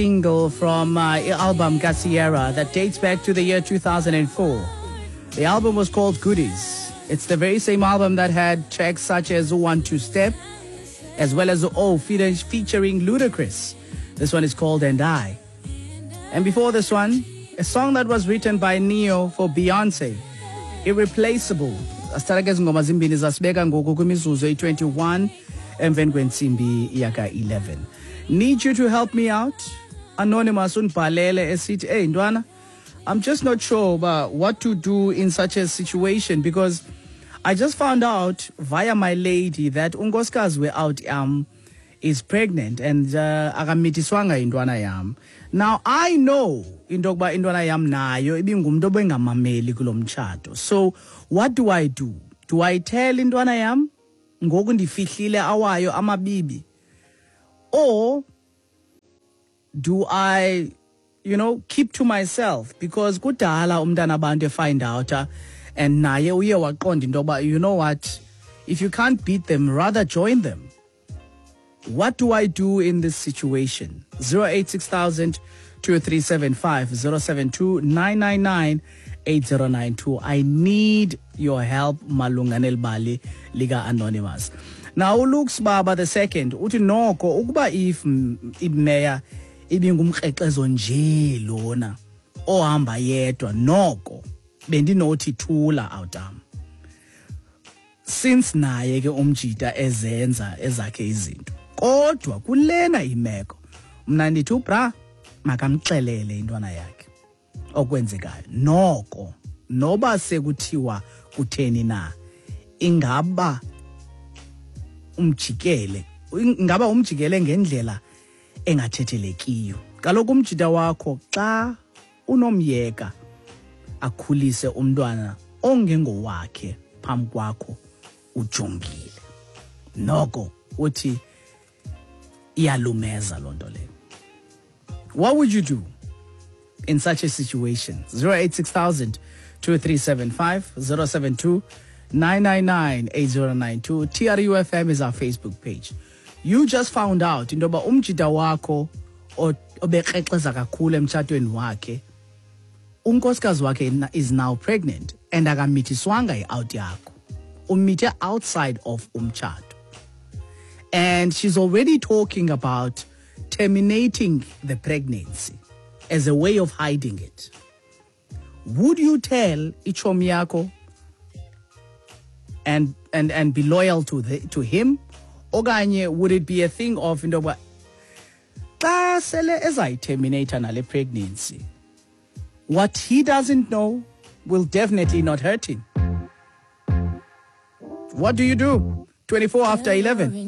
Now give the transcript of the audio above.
Single from album kaCiara that dates back to the year 2004. The album was called Goodies. It's the very same album that had tracks such as One Two Step, as well as Oh, featuring Ludacris. This one is called And I. And before this one, a song that was written by Ne-Yo for Beyonce, Irreplaceable. Asithatha ke ngoma zimbini zasibeka ngoku kwimizuzu eyi-21 emveni kwentsimbi yaka-11. Need you to help me out. Anonymous undibhalele esithi, "Hey ntwana, I'm just not sure about what to do in such a situation because I just found out via my lady that unkosikazi we-out is pregnant and akamithiswanga intwana yam. Now I know into yokuba intwana yam nayo ibingumntu obengamameli kulo mtshato. So what do I do? Do I tell intwana yam ngoku ndifihlile awayo amabibi, or do I keep to myself because kudala umntana abantu find out and naye uye waqonda into yoba, you know what, if you can't beat them, rather join them. What do I do in this situation?" 086 2375 072 999 8092. I need your help malunga nelibali lika Anonymous. Now uLux Baba the second uthi noko ukuba if imeya ibingumkrexezo nje lona ohamba yedwa, noko bendinothi thula awutam, since naye ke umjita ezenza ezakhe izinto, kodwa kulena imeko mna ndithi ubra makamxelele intwana yakhe okwenzekayo, noko noba sekuthiwa kutheni na, ingaba umjikele, ingaba umjikele ngendlela engathethelekiyo. Kaloku umjita wakho xa unomyeka akhulise umntwana ongengowakhe phambi kwakho ujongile, noko uthi iyalumeza loo nto leyo. What would you do in such a situation? 086 2375 072 999 8092. TRUFM is our Facebook page. You just found out into yoba umjita wakho obekrexeza kakhulu emtshatweni wakhe, unkosikazi wakhe is now pregnant and akamithiswanga i-out yakho, umithe outside of umtshato, and she's already talking about terminating the pregnancy as a way of hiding it. Would you tell ichomi yakho and be loyal to him, okanye would it be a thing of into yokuba xa sele ezayiterminate nale pregnancy, what he doesn't know will definitely not hurt him? What do you do? 24 after 11.